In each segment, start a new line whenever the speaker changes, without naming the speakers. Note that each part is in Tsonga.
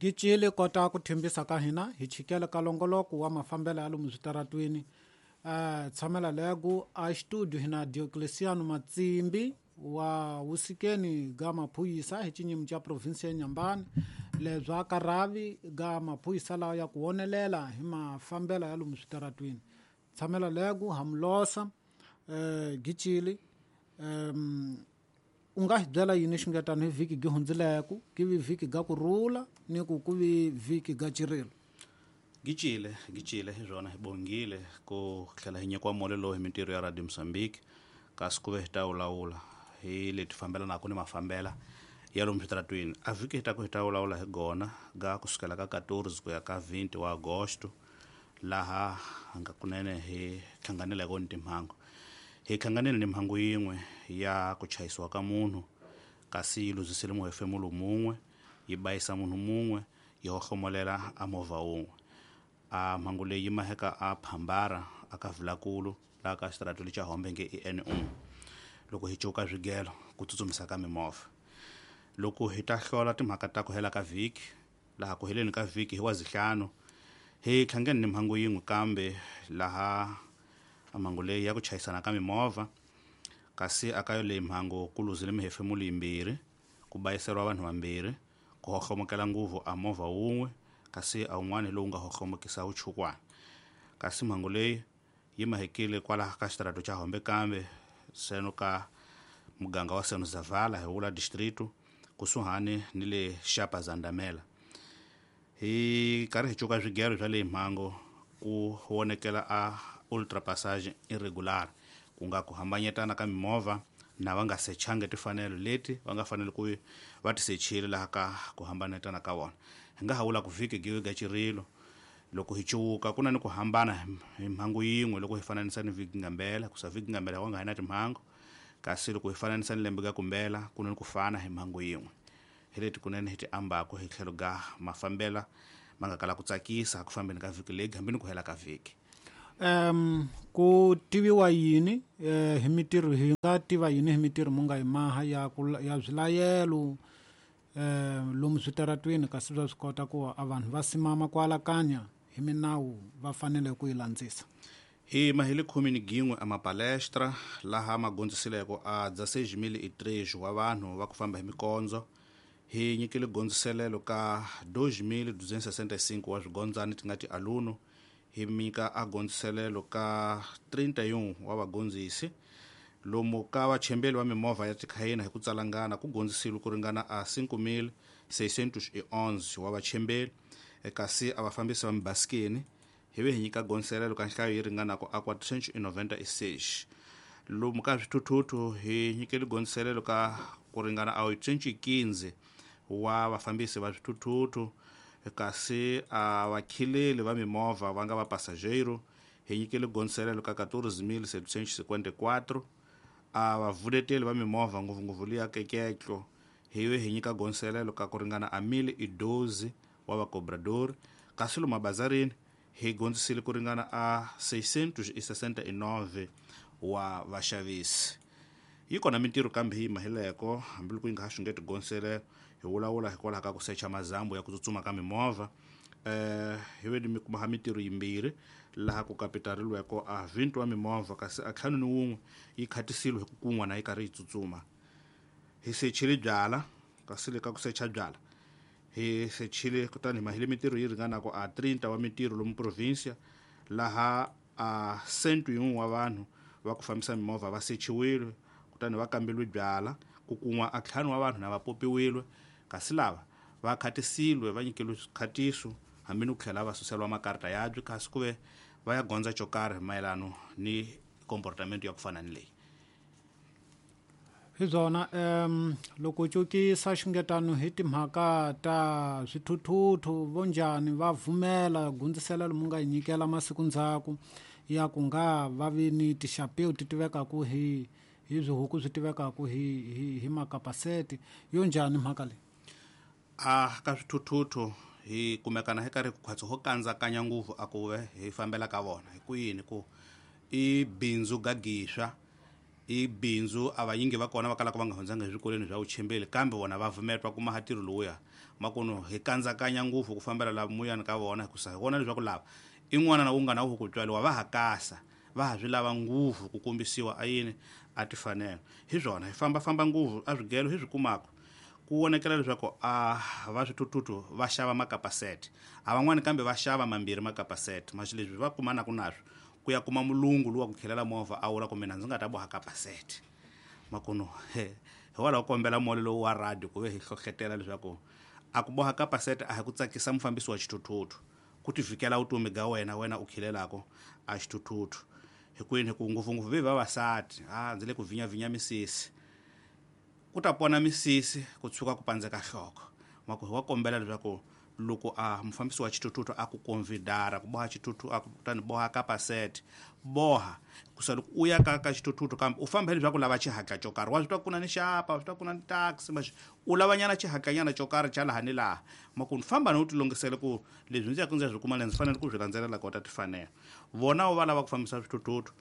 Gicile kota ku thembisa ka hina hi chikele ka longoloko wa mafambelo ya lomu switaratwini. Tshamela legu a studio hina Diocleciano Matsimbi wa wusikeni ga maphuyisa hi xinyimi xa provinsi ya Nyambani lebya karavi ga maphuyisa lawa ya ku wonelela hi mafambelo ya lomu switaratwini. Tshamela legu hamulosa Gicile u nga hi byela yini xingetano hi vhiki gi hundzileku ki vi vhiki ga ku rhula ni ku ku vi vhiki ga cirilo?
Gicile gicile hi swona hi bongile ku tlhela hi nyikiwa mole lowu hi mintirho ya Radio Mozambique kasi ku ve hi ta vulavula hi leti fambelanaka ni mafambela ya lomu switaratwini. A vhiki hi ta ku hi ta vulavula hi gona ga kusukela ka 14 ku ya ka 20 wa Agosto laha nga kunene hi hlanganeleke ni timhangu. Hi hlanganile ni mhangu yin'we ya ku chayisiwa ka munhu kasi yi luzisile muhefemulo mun'we, yi bayisa munhu mun'we, yi hohlomolela a movha wun'we. A mhangu leyi yi maheka a Phambara a ka Vilakulu laha ka xitarato lexa Hombe nge i N1 loko hi cuka swigelo ku tsutsumisa ka mimovha. Loko hi ta hlola timhaka ta ku hela ka vhiki laha ku heleni ka vhiki hi wa zihlanu hi hlangene ni mhangu yin'we kambe laha mhangu leyi ya ku chayisana ka mimovha kasi aka yo leyi mhangu ku luzile mihefemulo yimbirhi, ku bayiseriwa vanhu vambirhi, ku hohlomokela nguvu a movha wun'we kasi a wun'wana lowu nga hohlomokisa wuchukwana. Kasi mhangu leyi yi mahekile kwalaha ka xitarato xa Hombe kambe seno ka muganga wa Seno Zavala hi wula distrito kusuhani ni le Xapa Zandamela. Hi karhi hi cuka swigelo swa leyi mhangu ku vonekela a ultra passage irregular ku nga ku hambanyetana ka mimovha na va nga sechangi timfanelo leti va nga fanele ku va ti sechile laha ka ku hambanetana ka vona. Hi nga ha vula ku vhiki giwi ga cirilo loko hi cuka ku na ni ku hambana hi mhangu yin'we loko hi fananisa ni vhiki ngambela kusa vhiki ngambela wa nga ha na timhangu kasi loko hi fananisa ni lembe ga kumbela ku na ni ku fana hi mhangu yin'we. Hi leti kunene hi ti ambako hi tlhelo ga mafambela ma nga kala ku tsakisa ku fambeni ka vhiki leyi hambi ni ku hela ka vhiki.
Ku tiviwa yini hi mitirho hi nga tiva yini hi mitirho mu nga yi maha ya ku ya swilayelo lomu switaratwini kasi bya swi kota ku a vanhu va simama ku alakanya hi minawu va fanele ku yi landzisa?
Hi mahele 11 a mapalestra laha magondzisileko a 16.003 wa vanhu va ku famba hi mikondzo. Hi nyikile gondziselelo ka 2.265 wa swigondzani ti nga ti aluno. Hi mika a gondziselelo ka 31 wa vagondzisi. Lomu ka vachembeli va mimovha ya tikhayina hi ku tsalangana ku gondzisile ku ringana a 5.611 wa vachembeli kasi a vafambisi va mibasikeni hi ve hi nyika gondziselelo ka nhlayo yi ringanaka a 496. Lomu ka swithuthuthu hi nyikele gondziselelo ka ku ringana a 815 wa vafambisi va swithuthuthu kasi a vakhileli va mimovha va nga va passageiro hi nyikele gondziselelo ka 14.754. A vavuleteli va mimovha ngopfungopfu liya keketlo hi ve hi nyika gondziselelo ka ku ringana a 1.012 wa vacobrador kasi lomu mabazarini hi gondzisile ku ringana a 669 wa vaxavisi. Yi kona mintirho kambe hi mahileko hambiloko yi nga ha xungeti gondzisele hi vulavula hikwalaho ka ku secha mazambu ya ku tsutsuma ka mimovha. Hi ve ni kuma ha mintirho yimbirhi laha ku kapitariliweko a 20 wa mimovha kasi a 51 yi khatisile hi ku kun'wa na yi karhi yi tsutsuma. Hi sechile byala kasi le ka ku secha byala hi sechile kutani hi mahile mintirho yi ringanaka a 30 wa mintirho lomu provincia laha a 101 wa vanhu va ku fambisa mimovha va sechiwile kutani va kambeliwe byala ku kun'wa a 5 wa vanhu na va popiwile kasi lava va khatisiliwe va nyikeliwe swikhatiso hambi ni ku tlhela va suseliwa makarata yabyo kasi ku ve va ya gondza xo karhi mayelano ni comportamento ya ku fana ni leyi.
Hi byona loko cukisa xingetano hi timhaka ta swithuthuthu vo njhani va vumela gundziselelo mu nga yi nyikela masiku ndzhaku ya ku nga va vi ni tixapeu ti tivekaku hi swihuku swi tivekaku hi makapaseti yo njhani mhaka leyi?
A ka swithuthuthu hi kumekana hi karhi ku khwatsi ho kandzakanya nguvu a ku ve hi fambela ka vona hi ku yini ku i bindzu gagiswa. I bindzu a vanyingi va kona va kalaka va nga hundzanga eswikolweni swa vuchembeli, kambe vona va vumetwa kuma ha ntirho lowuya. Makuno hi kandzakanya ngopfu ku fambela la muyani ka vona, hikusa hi vona leswaku lava i n'wana na wungana wu ku tswariwa va ha kasa, va ha swi lava ngopfu ku kombisiwa a yini a tifanelo. Hi swona hi fambafamba ngopfu a swigelo hi swi kumaka ku vonekela leswaku a va swithuthuthu va xava makapasete, a van'wani kambe va xava mambirhi makapasete. Maxi leswi va kumanaka naswo ku ya kuma mulungu luwa ku khelela movha a vula ku mina ndzi nga ta boha kapasete. Makuno hi walaho kombela mole lowu wa radio ku ve hi hlohletela leswaku a ku boha kapasete a hi ku tsakisa mufambisi wa xithuthuthu, ku ti vhikela vutomi ga wena, wena u khilelako a xithuthuthu. Hikwini hi ku ngopfungopfu ve vavasati, a ndzi le ku vhinyavinya misisi, ku ta pona misisi ku tshuka ku pandzeka nhloko. Maku hi wa kombela leswaku loko a mufambisi wa xithuthuthu a ku convidara ku boha xithuthuthu, a ku kutani boha kapasete, boha kusa loko u ya ka xithuthuthu kambe u famba leswaku lava xihatla xo karhi, wa swi twa ku na ni xapa, wa swi twa ku na ni taxi, maxi u lavanyana xihatlanyana xo karhi xa laha ni laha. Maku ni famba ni u tilungisele ku leswi ndzi yaka ndzi ya swi kuma le ndzi fanele ku swi landzelela kota tifanelo. Vona va lava ku fambisa swithuthuthu,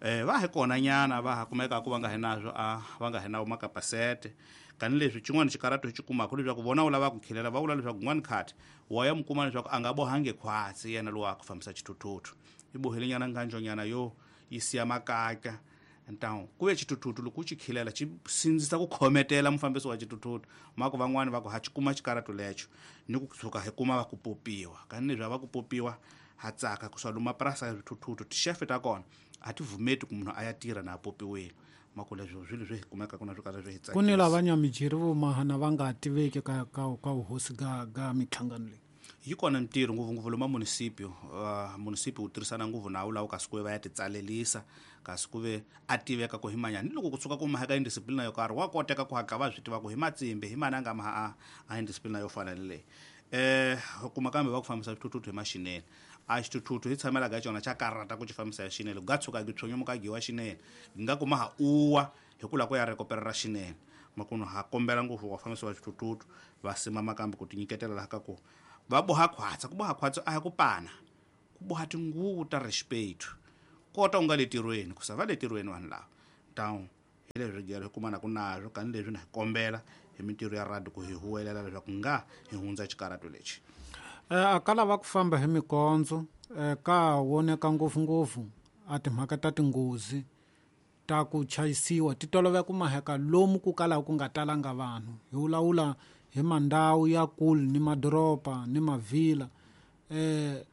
va hi kona nyana va ha kumeka ku va nga hi nazwo, a va nga hi nawo makapasete. Kani leswi xin'wana xikarato hi xi kumaka leswaku vona u lava ku khilela, va vula leswaku n'wana khati wa ya mu kuma leswaku a nga bohangi khwatsi yena lowa ku fambisa xithuthuthu, i bohile nyana nganjonyana yo yi siya makaka. Ntawu ku ve xithuthuthu loko u xi khilela xi sindzisa ku khometela mufambisi wa xithuthuthu. Mako van'wani va ku ha xi kuma xikarato lexo ni ku tshuka hi kuma va ku popiwa. Kani leswi a va ku popiwa ha tsaka ku swa luma purasi ya swithuthuthu tixefe ta kona a ti vumeti ku munhu a ya tirha na a popiwile. Mako leswo swilo swi hi kumeka ku na swo karhi swi hi
tsakisa. Ku ni lava nyamijeri vo mahana va nga tiveki ka vuhosi ga minhlangano leyi.
Yi kona ntirho ngopfungopfu lomu municipio. Municipio wu tirhisana ngopfu nawu lawo kasi ku ve va ya titsalelisa, kasi ku ve a tiveka ku hi manyani. Ni loko ku tshuka ku mahaka indisciplina yo karhi wa koteka ku hatla va swi tiva ku hi matsimbi hi mani a nga maha a indisciplina yo fana ni leyi. Kuma kambe va ku fambisa swithuthuthu hi maxinene. A xithuthuthu hi tshamela ka xona xa karata ku xi fambisa hi xinene, ku nga tshuka ki tshonyomuka giwa xinene, gi nga kuma ha uwa hi ku lava ku ya rekoperera xinene. Makuno ha kombela ngopfu vafambisi va swithuthuthu va simama kambe ku tinyiketela laha ka ku va boha khwatsa. Ku boha khwatsa a hi ku pana, ku boha tinguvu ta respect, kota u nga le tirhweni, ku sa va le tirhweni vanhu lava. Ntawu hi leswi gelo hi kumana ku nazwo, kani leswi na hi kombela hi mintirho ya radio ku hi huwelela leswaku nga hi hundza xikarato lexi.
A ka lava ku famba hi mikondzo, ka voneka ngopfungopfu a timhaka ta tinghozi ta ku chayisiwa ti tolovela ku maheka lomu ku kalaka ku nga talanga vanhu. Hi vulavula hi mandhawu ya kule ni madoroba ni mavhila,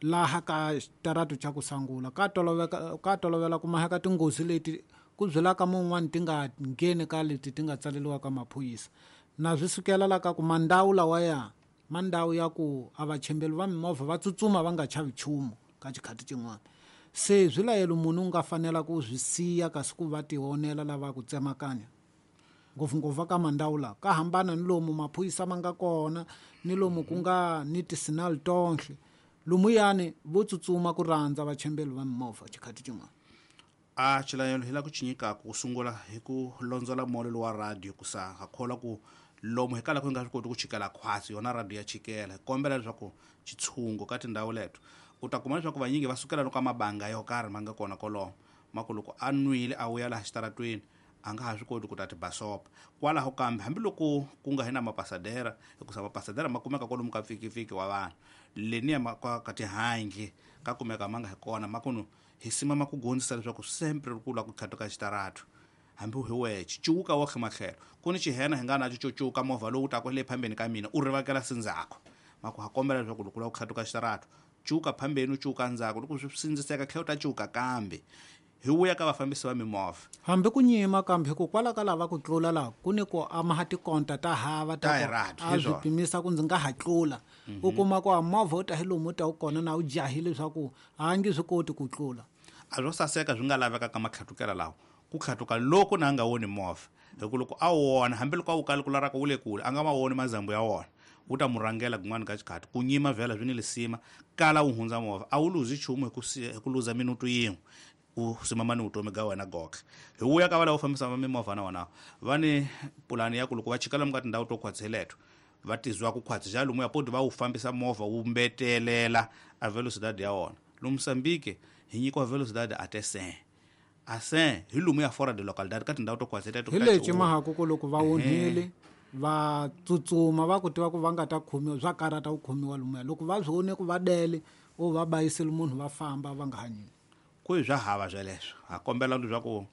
laha ka xitarato xa ku sangula ka toloveka, ka tolovela ku maheka tinghozi leti ku byelaka mun'wani ti nga ngheni ka leti ti nga tsaleriwa ka maphorisa. Na swi sukela la ka ku mandhawu lawaya mandhawu ya ku a vachembeli va mimovha va tsutsuma va nga chavi nchumu ka xikhathi xin'wana. Se swi layelo munhu u nga fanela ku swi siya kasi ku va tionela lava ku tsemakanya ngopfungopfu ka mandhawu lawa ka hambana ni lomu maphorisa ma nga kona ni lomu ku nga ni tisinal tonhle. Lumuyani vo tsutsuma ku rhandza vachembeli va mimovha xikhathi xin'wana.
A xilayelo hi la ku xi nyikaka ku sungula hi ku londzola mole lowa radio ku sa ha kholwa ku lomu hi kalaka hi nga swi koti ku chikela khwatsi yona radio ya chikela. Hi kombela leswaku xitshungu ka tindhawu leto u ta kuma leswaku vanyingi va sukela loko mabanga yo karhi ma nga kona kolomo. Mako loko a nwile a vuya laha xitaratweni a nga ha swi koti ku ta tibasopa kwalaho. Kambe hambiloko ku nga hi na mapasadera, hikusa mapasadera ma kumeka kwalomu ka pfikipfiki wa vanhu leniya ka tihangi ka kumeka ma nga hi kona. Makuno hi simama ku gondzisa leswaku sempre ku lava ku khatuka xitarato hambi hi wexe cuka wa matlhelo ku ni xihena hi nga naxo xo cuka movha lowu taka le phambeni ka mina u rivakela sindzhaku. Mako ha kombela leswaku loko u lava ku khatuka xitarato cuka phambeni u cuka ndzhaku, loko swi sindziseka tlhela u ta cuka kambe. Hi vuya ka vafambisi va mimovha
hambi ku nyima kambe hikokwalaho ka lava ku tlula laha ku ni ku amaha tikonta ta hava ta a swi pimisa ku ndzi nga ha tlula. U kuma ku a movha u ta hi lomu u ta wu kona na u jahile leswaku a nge swi koti ku tlula.
A swo saseka swi nga laveka ka matlhatukela lawa ku tlhatuka loko na nga woni movha, hi ku loko a wona hambiloko a wu kali ku laraka wu le kule a nga ma woni mazambu ya wona, wu ta mu rhangela kun'wana ka xikhathi. Ku nyima vhela swi ni lisima kala wu hundza movha a wu luzi nchumu hi ku luza minutu yin'we u simama ni vutomi ga wena goxe. Hi vuya ka va lava fambisa mimovha na wona va ni pulani ya ku loko va chika lomu ka tindhawu to khwatsi leto va tizwa ku khwatsi xa lomuya poti va wu fambisa movha wu mbetelela a velocidade ya wona. Lomu Mozambique hi nyikiwa velocidade a te 100. Ase hi lomu ya fora de localidade ka tindhawu to kwaseta to
Hi lexi mahaku ku loko va onhile va tsutsuma, va ku tiva ku va nga ta khomiwa, swa karata ku khomiwa lomuya. Loko va swi vone ku va dele o va bayisile munhu, va famba va nga hanyini.
Ku hi swa hava sweleswo. Ha kombela leswaku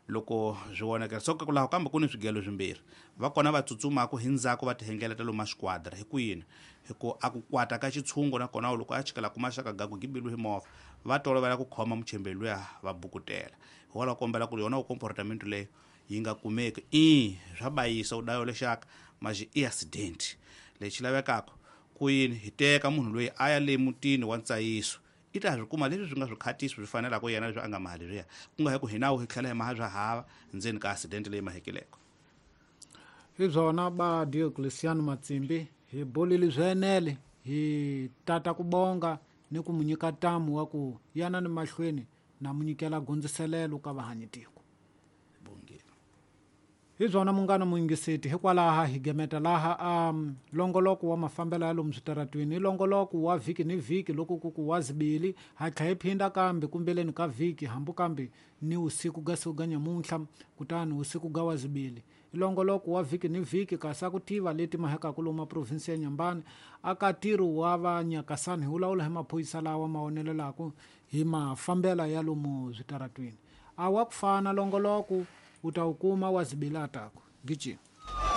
loko swi vonakela so laha kambe ku ni swigelo swimbirhi, va kona va tsutsumaku hi ndzhaku va tihengeleta lomu masquadra. Hi ku yini? Hi ku a ku kwata ka xitshungu, nakona loko a chikela kuma xaka gaku gibiliwe hi movha, va tolovela ku khoma muchembeli luya va bukutela. Hi wala kombela ku ri yona comportamento leyi yi nga kumeki. I swa bayisa u dayo lexaka maxi i accident. Lexi lavekaka ku yini? Hi teka munhu loyi a ya le mutini wa ntsayiso, i ta swi kuma leswi swi nga swikhatisi swi fanelaka yena, leswi a nga mali leswiya, ku nga hi ku hi nawu hi tlhela hi maha swa hava ndzeni ka accident leyi mahekileko.
Hi byona ba Diocleciano Matsimbi, hi bolile swi hi tata ku bonga ni ku mu nyika ntamu wa ku yana ni mahlweni na mu nyikela gondziselelo ka vahanyitiko. Hi byona munghana muyingiseti, hikwalaha hi gemeta laha longoloko wa mafambelo ya lomu switaratwini. I longoloko wa vhiki ni vhiki, loko ku ku wa zibili ha tlha hi phinda kambe kumbeleni ka vhiki, hambu kambe ni usiku ga siku ga nyamuntlha, kutani usiku ga wa zibili. I longoloko wa vhiki ni vhiki, kasi a ku tiva leti mahekaku lomu maprovinsi ya Nyambani aka ntirho wa va Nyakasani. Hi vulavula hi maphorisa lawa ma onelelaku hi mafambela ya lomu switaratwini. A wa ku fana longoloko u ta wu kuma wa zibili ataku gijima.